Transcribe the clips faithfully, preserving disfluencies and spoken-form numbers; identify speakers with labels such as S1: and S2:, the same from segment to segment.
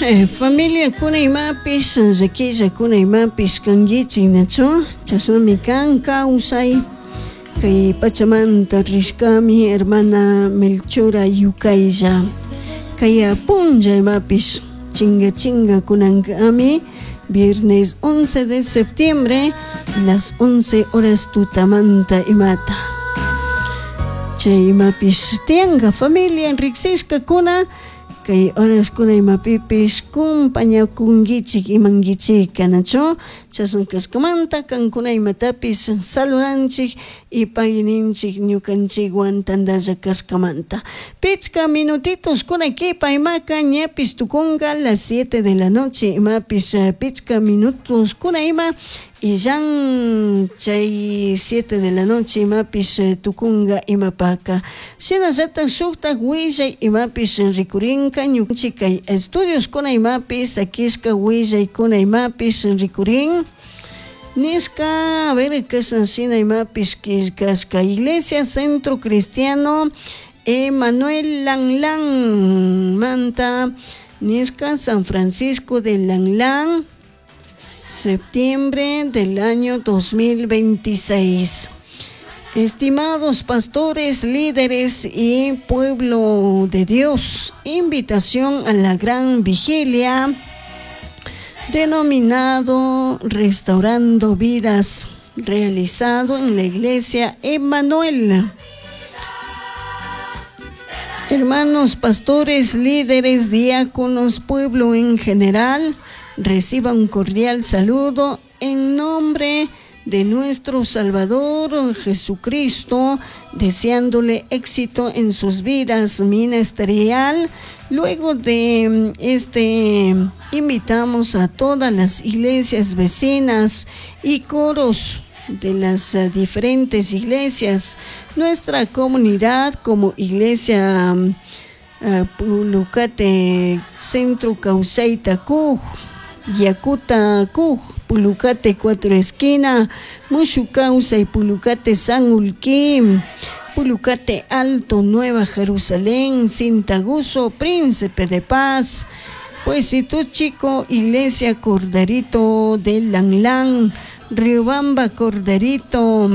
S1: Eh, familia kuna imapish llaquilla kuna imapish kankichik nachu chashnami kan kawsay kay pachamanta rishkami hermana Melchora Yukaylla kay punlla imapish chinga chinga kunankami viernes once de septiembre las once horas tutamanta imata chay imapish tiyanka familia riksishkakuna kay horaskuna imapipish kumpañakunkichik imankichik nachu chashna kashkamanta kankuna imatapish saludanchik y pagui ñukanchikwan tantalla kashkamanta pichka minutitos kuna kipa imaka ñapish tukunka las siete de la noche imapish pichka minutos kuna ima illan chay siete de la noche imapish tukunka imapaka shinallatak shuktak willay imapish rikurinka ñukanchik kay estudios kuna imapish sakishka willaykuna imapish rikurin nishka a ver kashan shina imapish killkashka Iglesia Centro Cristiano Emanuel Lanlan manta nishka San Francisco de Lanlan septiembre del año dos mil veintiséis. Estimados pastores, líderes y pueblo de Dios, invitación a la gran vigilia denominado Restaurando Vidas, realizado en la iglesia Emanuel. Hermanos pastores, líderes, diáconos, pueblo en general, reciban un cordial saludo en nombre de nuestro Salvador Jesucristo, deseándole éxito en sus vidas ministerial. Luego de este, invitamos a todas las iglesias vecinas y coros de las diferentes iglesias, nuestra comunidad como Iglesia uh, Pulucate Centro Causaita Cuj, Yakuta Cuj, Pulucate Cuatro Esquina, Mushucausa y Pulucate San Ulquim, Pulucate Alto, Nueva Jerusalén, Cintaguso, Príncipe de Paz, Puesito Chico, Iglesia Corderito de Lanlán, Riobamba Corderito,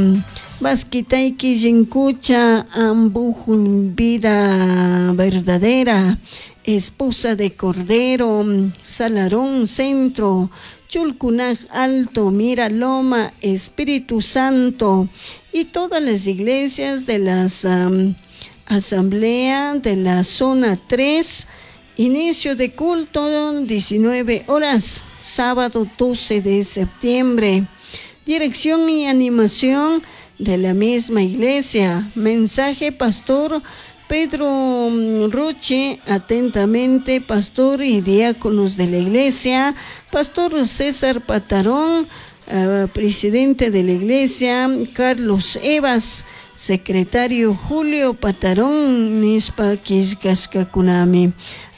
S1: Vasquitaiki Yincucha, Ambujun Vida Verdadera, Esposa de Cordero, Salarón Centro, Chulcunaj Alto, Miraloma, Espíritu Santo y todas las iglesias de las um, asamblea de la zona tres, inicio de culto diecinueve horas, sábado doce de septiembre. Dirección y animación de la misma iglesia. Mensaje pastor Pedro Roche, atentamente, pastor y diáconos de la iglesia, pastor César Patarón, uh, presidente de la iglesia, Carlos Evas, secretario Julio Patarón, nishpa killkashkakunami.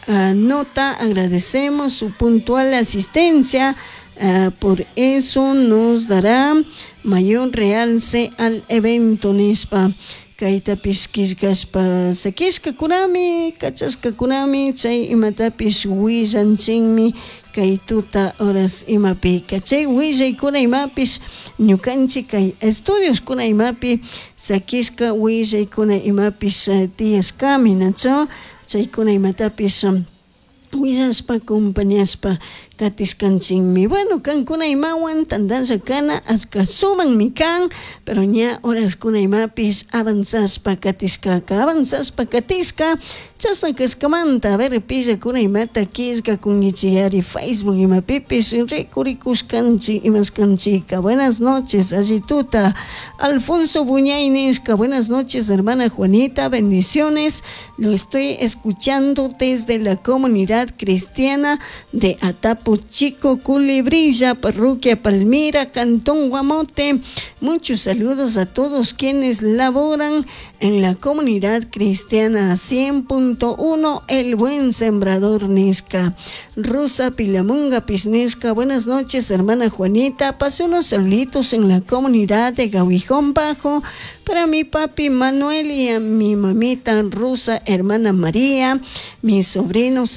S1: Uh, nota, agradecemos su puntual asistencia, uh, por eso nos dará mayor realce al evento, nishpa. Kaytapish killkashpa sakishkakunami, kachashkakunami, chay imatapish willanchinmi kay tuta horas imapika. Chay willaykuna imapish ñukanchik kay estudios kuna imapi sakishka willaykuna imapish tiyashkami, nachu chaykuna imatapish willashpa compañashpa katishkanchinmi. Bueno, kankuna imawan tantalla kana ashka sumanmi kan, pero ña horaskuna imapis avanzashpa katishkaka, avanzashpa katishka, chashna kashkamanta, a ver, pillakuna imata killkakunkichiyari Facebook imapipis rikurikushkanchik imashkanchika. Buenas noches, allituta. Alfonso Buñay nishka, buenas noches, hermana Juanita, bendiciones. Lo estoy escuchando desde la comunidad cristiana de Atapo Chico, Culebrilla, Parroquia Palmira, Cantón Guamote. Muchos saludos a todos quienes laboran en la comunidad cristiana cien punto uno, El Buen Sembrador nishka. Rosa Pilamunga Pisnesca, buenas noches, hermana Juanita. Pasé unos saluditos en la comunidad de Gawijón Bajo para mi papi Manuel y a mi mamita Rosa, hermana María, mis sobrinos